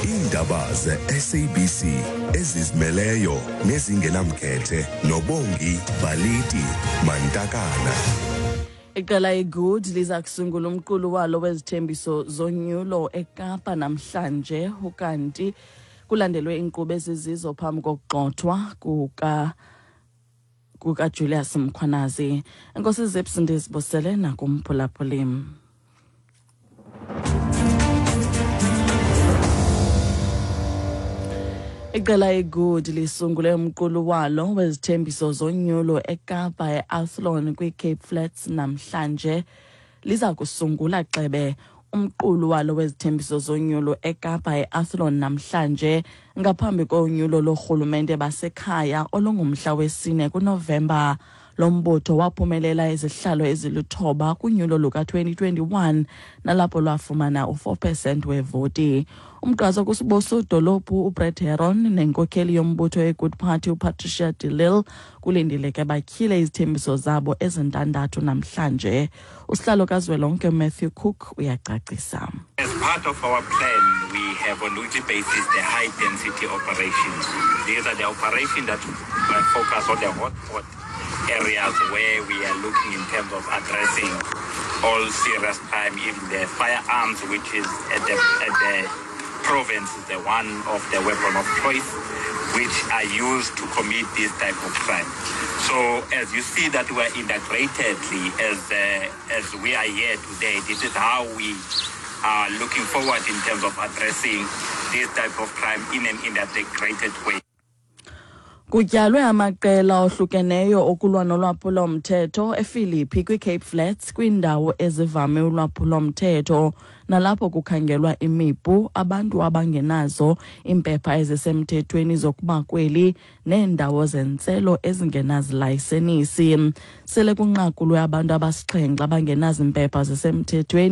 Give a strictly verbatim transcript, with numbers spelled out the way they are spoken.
Iindaba ze-S A B C ezizimeleyo nezingenamkhethe noBongi Baliti Mantakana. Iqela iGood liza kusungula umqulu walo wezithembiso zonyulo eKapa namhlanje, ukanti kulandelwe iinkqubo ezizizo phambi kokugxothwa kuka kukaJulius Mkhwanazi. Enkosi Zips, ndizibusele nakumphulaphuli. Iqela iGood lisungule umqulu walo wezithembiso zonyulo eKapa eAthlone kwiCape Flats namhlanje. Liza kusungula xebe umqulu walo wezithembiso zonyulo eKapa eAthlone namhlanje ngaphambi konyulo lorhulumente basekhaya olungumhla wesine kuNovemba. Lo mbutho waphumelela izihlalo eziluthoba kunyulo luka-twenty twenty-one nalapho lwafumana u-four percent wevoti. Umgqatswa kusodolophu uBrett Heron nenkokheli yombutho yeGood Party uPatricia de Lille kulindeleke batyhile izithembiso zabo ezintandathu namhlanje. Usihlalo kazwelonke Matthew Cook uyacacisa. As part of our plan, we have on weekly basis the high density operations. These are the operations that uh, focus on the hotspot areas where we are looking in terms of addressing all serious crime, even the firearms, which is at the, at the province is the one of the weapon of choice, which are used to commit this type of crime. So as you see that we are integratedly as, uh, as we are here today, this is how we are looking forward in terms of addressing this type of crime in an integrated way. Kutyalwe amaqela ohlukeneyo okulwa nolwaphulo-mthetho ePhilippi kwiCape Flats, kwiindawo ezivame ulwaphulo-mthetho nalapho kukhangelwa imipu, abantu abangenazo iimpepha ezisemthethweni zokuba kweli neendawo zentselo ezingenazilayisenisi. Sele kunqakulwe abantu abasixhenxe abangenazimpepha zisemthethweni.